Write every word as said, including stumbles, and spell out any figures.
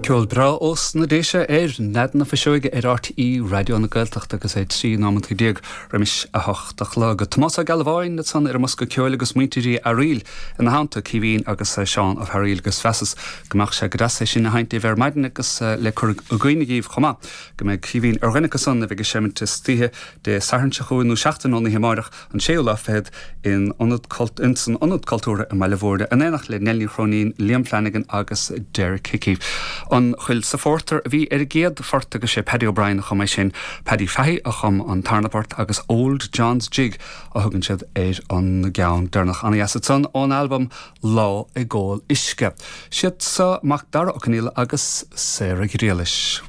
Ceol breá ós na Déise ar Nead na Fuiseoige ar R T É Raidió na Gaeltachta agus é trí nóiméad déag roimis a hocht a chlog. Tomás Ó Gealbháin ansan ar an mbosca ceoil agus muintir Uí Fhearaíl ina theannta, Caoimhín agus Seán Ó Fearaíl, agus mheasas go mbeadh sé go deas é sin a sheinnt ar maidin agus le cur i gcuimhne daoibh chomh maith go mbeidh Caoimhín ar dhuine acusan a bheidh ag seimint istoíche Dé Sathairn seo chugainn nó seachtain ón oíche amárach, an séú lá fichead, in ionad in san Ionad Cultúrtha i mBaile Bhúirne in éineacht le Nellie Chróinín, Liam Flanagan agus Derek Hickey. An Choill sa Phórtar a bhí ar an gcéad phort agus sé Paddy O'Brien a chum é sin. Paddy Fahey a chum an tarna port agus Old John's Jig a thugann siad ar an gceann deireanach. An-dheas ansan ón albam Lá ag Ól Uisce. Siad seo Mac Dara Ó Conghaile agus Sarah Ghriallais.